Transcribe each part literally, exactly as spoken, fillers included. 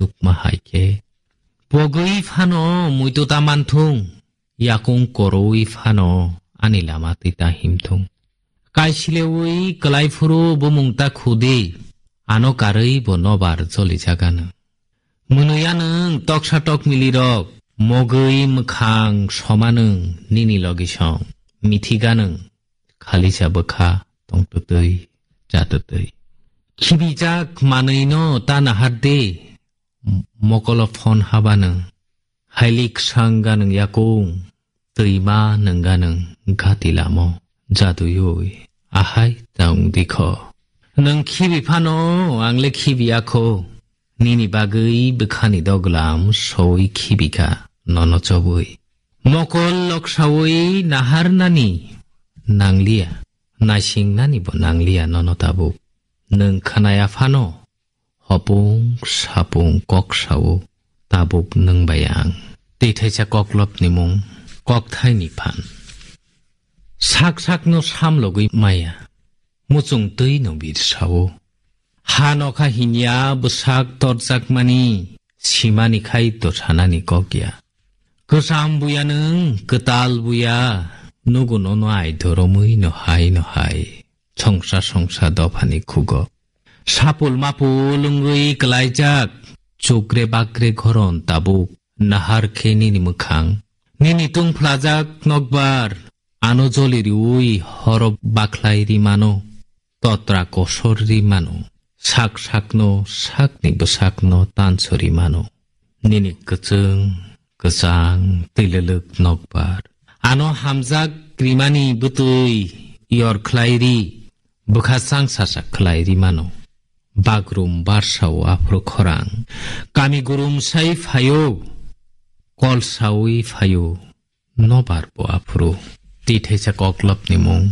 tukma hai khe. Pogwi phano muitu ta manthung, yakung korowi phano ani lama twi ta himthung. Kaisilewi kwlai phuru bumung ta khudi, ano karwi bo nobar joli jaganw. Mwnwi anwng toksa tokmili rok, mogwi mwkhang somanwng nini logisong, mithiganwng khalisa bwkha tongtwtwi chatwtwi. Khibijak manwino ta nahardi, mokolo phone habanwng, haili khsang ganwng yakung, twima nwng ganwng gati lamo jaduyui ahai ta wng dikho. Nwng khibi phano, angle khibi akho, nini bagwi bwkhani doglam soi khibikha nono chobwi. Mokol loksawi naharnani nangliya, naisingnani bo nangliya nono tabuk. Nwng khnaya phano, hopung sapung kok sao, tabuk nwng bai ang. Tei thaisa koklopni mung, kokthaini phan. Sak sakno samlogwi maya, muchung twi no bir sao. Ha nokha hinya bwsak torjakmani, simani khai to sanani kokya. Kwcham buya nwng, kwtal buya, nugo nono ai doromwi no hai no hai. Songsa songsa dophani khugo. Sapul mapul wngwi kwlaijak, chukre bakre goron tabuk, nahar khe nini mwkhang. Nini tungphlajak nokbar, ano joli riwi horo bakhlai ri mano, totra kosor ri mano, sak sakno sakni bwsakno tansori mano. Nini kwchwng, kwchang, twilwlwk nokbar. Ano hamjak rimani bwtwi yor khlai ri, bwkha chang sasak khlai ri mano. Bagrum barsao aphuru khorang, kami gurum sai phaio, kol saui phaio, nobar bo aphuru. Tei thaisa koklopni mung,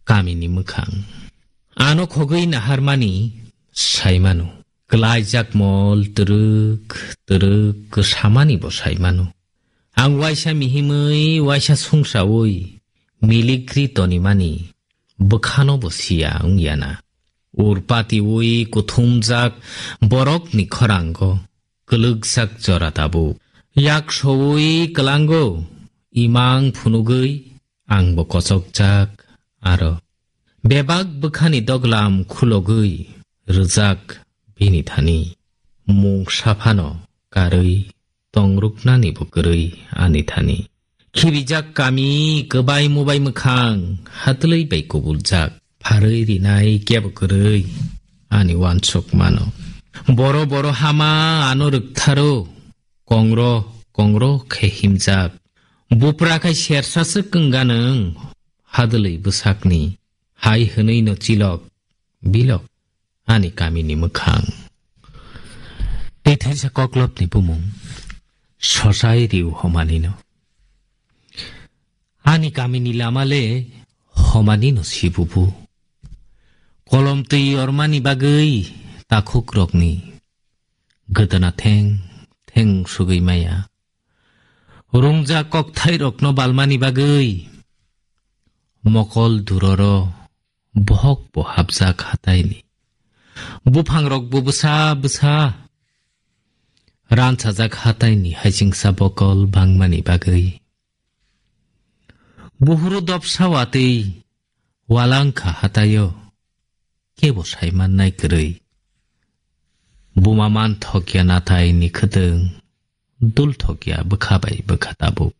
kamini mwkhang. Ano khogwi naharmani sai mano. Kwlaijak mol twrwk twrwk kwsamani bo sai mano. Ang waisa mihimwi waisa sungsaui milikri tonimani bwkhano bo siya wngya na. Urpatiui kuthumjak borokni khorango kwlwkjak jora tabuk. Yak soui kwlango imang phunugwi ang bo kochokjak aro. Bebak bwkhani doglam khulogwi rwjak bini thani. Mung saphano karwi tongruknani bo kwrwi ani thani. Khibijak kami kwbai mubai mwkhang hatwlwi bai kubuljak. Pharwi rinai kebo kwrwi ani uansuk mano. Boro boro hama ano rwktharo. Kongro kongro khe himjak. Bupra khai sersa swk wngga nwng hadwlwi bwsakni. Hai hwnwi no chilok bilok ani kamini mwkhang. Tei thaisa koklopni bumung sosai riu homanino. Ani kamini lama le homanino sibubu. Kolom twi ormani bagwi takhukrokni gwdana theng theng sugwi maya. Rungjak kokthairokno balmani bagwi mokol duroro bohok bo hapjak hataini. Buphangrok bo bwsa bwsa ransajak hataini haisingsa bokol bangmani bagwi. Buhuru dopsa watwi walangkha hataio kebo saimannai kwrwi. Buma manthokya nathai ni khwtwng, dulthokya bwkha bai bwkha tabuk.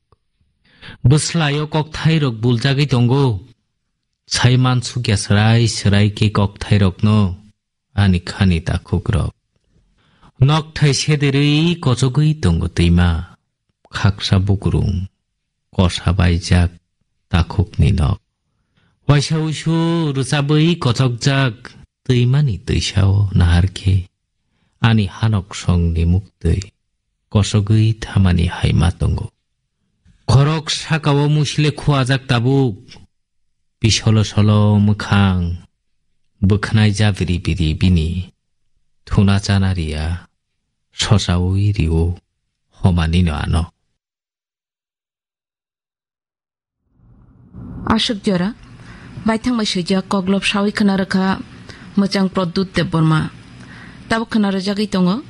Bwslaio kokthairok buljagwi tongo, saiman sukya swrai swrai khe kokthairokno ani khani takhukrok. Nokthai sederwi kochogwi tongo twima, khaksa bukurung, kosa baijak takhukni nok. Waisa uisu rwchabwi kochokjak twimani twisao nahar khe ani hanok songni muktwi kosogwi thamani hai ma tongo. Khorok sakao musile khuajak tabuk, pisolo solo mwkhang bwkhnai jabiri biri bini thuna chana riya sosaui rio homanino ano. Ashok jora, baithang bai swijak koklop sawi khna rwkha mwchang Pradyut Debbarma. Tabuk khna rwjagwi tongo